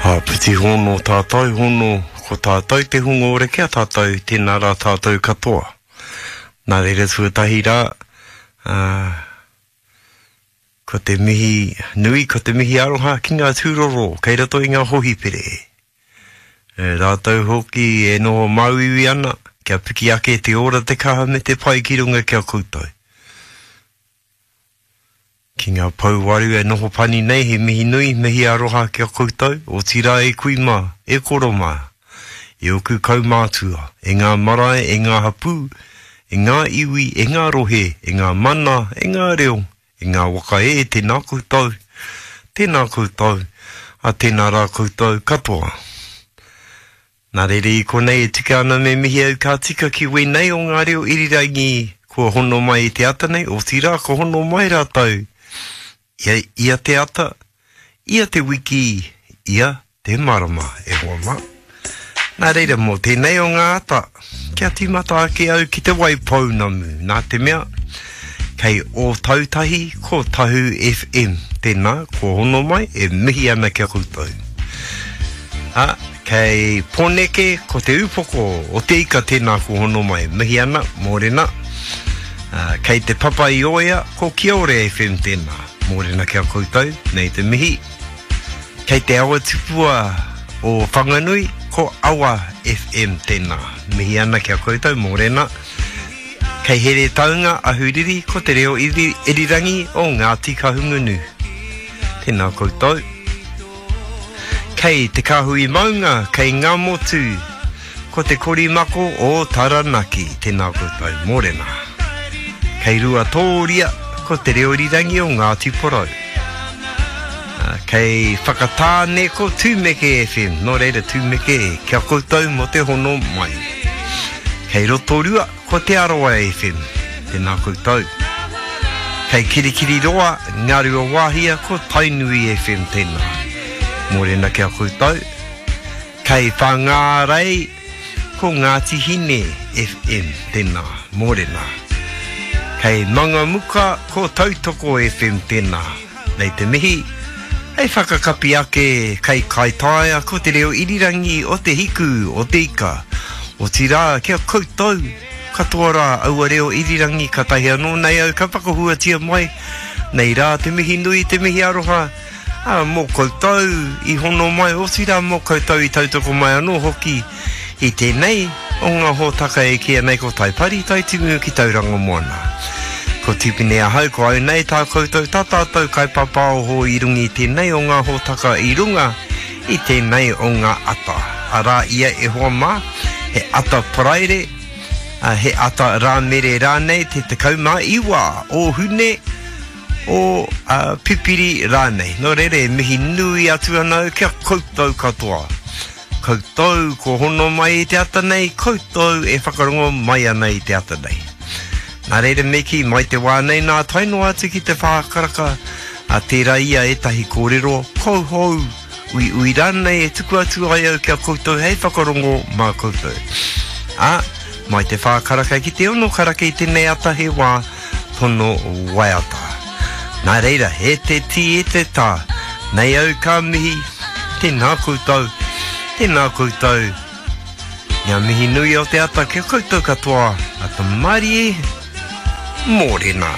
Āpiti hono tātou hono ko tātou te hunga ora ki a tātou tēnā rā tātou katoa. Nā reira tuatahi rā, ā, ko te mihi nui, ko te mihi aroha ki ngā tūroro kei roto i ngā hohipere. E rātou hoki e noho māuiui ana, kia piki ake te ora, te kaha me te pai ki runga ki a koutou. Ki ngā pouwaru e noho pani nei, he mihi nui, mihi aroha ki a koutou, otirā e kui mā, e koro mā, e oku kaumātua, e ngā marae, e ngā hapū, e ngā iwi, e ngā rohe, e ngā mana, e ngā reo, e ngā waka e, tēnā koutou, tēnā koutou, a tēnā rā koutou katoa. Nā reira i konei e tika ana me mihi au ka tika ki wēnei o ngā reo irirangi kua hono mai i te ata nei, otirā ka hono mai rātou ia, ia te ata, ia te wiki, ia te marama, e hoa mā. Nā reira mō tēnei o ngā ata, kia tīmata ake au ki te Waipounamu, nā te mea, kei Ōtautahi ko Tahu FM, tēnā, kua hono mai, e mihi ana ki a koutou. Ā, Kei Poneke ko te upoko o te ika tēnā ko hono mai. Mihi ana, mōrena. Kei Te Papa i Oea ko Kiore FM tēnā. Mōrena ki a koutou, nei te mihi. Kei Te Awa Tupua o Whanganui ko Awa FM tēnā. Mihi ana ki a koutou, mōrena. Kei Heretaunga, Ahuriri ko te reo irirangi o Ngāti Kahungunu. Tēnā koutou. Kei Te Kāhui Maunga, kei Ngāmotu, ko Te Korimako o Taranaki, tēnā koutou, mōrena. Kei Ruatōria, ko Te Reo Irirangi o Ngāti Porou. Kei Whakatāne, ko Tūmeke FM, nō reira Tūmeke, kia koutou mō te hono mai. Kei Rotorua, Ko Te Arawa FM, tēnā koutou. Kei Kirikiriroa, Ngāruawāhia, ko Tainui FM tēnā. Mōrena ki a koutou. Kei Whangārei, ko Ngāti Hine FM tēnā. Mōrena. Kei Mangamuka, ko Tautoko FM tēnā. Nei te mihi, hei whakakapi ake kei Kaitaia ko te reo irirangi o te hiku o te ika. Otirā, ki a koutou katoa rā aua reo irirangi katahi anō nei au ka whakahuatia mai, nei rā te mihi nui, te mihi aroha, ā, mō koutou i hono mai, otirā mō koutou i tautoko mai anō hoki I tēnei o ngā hōtaka e kīia nei ko Taipari Taitimu ki Tauranga Moana. Ko Tipene ahau, ko au nei tā koutou, tā tātou kaipapaoho i runga i tēnei o ngā hōtaka i runga i tēnei o ngā ata. Arā ia e hoa mā, he ata Paraire, he ata Rāmere rānei te 19 o Hune, o Pipiri rānei. Nō reira e mihi nui atu ana au ki a koutou katoa. Koutou kua hono mai i te ata nei, koutou e whakarongo mai ana i te ata nei. Nā reira me kī, mai te wā nei nā tae noa atu ki te whā karaka, a tērā ia ētahi kōrero kouhou, uiui rānei e tuku atu ai au ki a koutou hei whakarongo mā koutou. Ā, mai te whā karaka ki te ono karaka i tēnei ata he wā tono waiata. Nā reira, e te tī, e te tā, nei au ka mihi, tēnā koutou, tēnā koutou. Ngā mihi nui o te ata kia koutou katoa, ata marie, mōrena.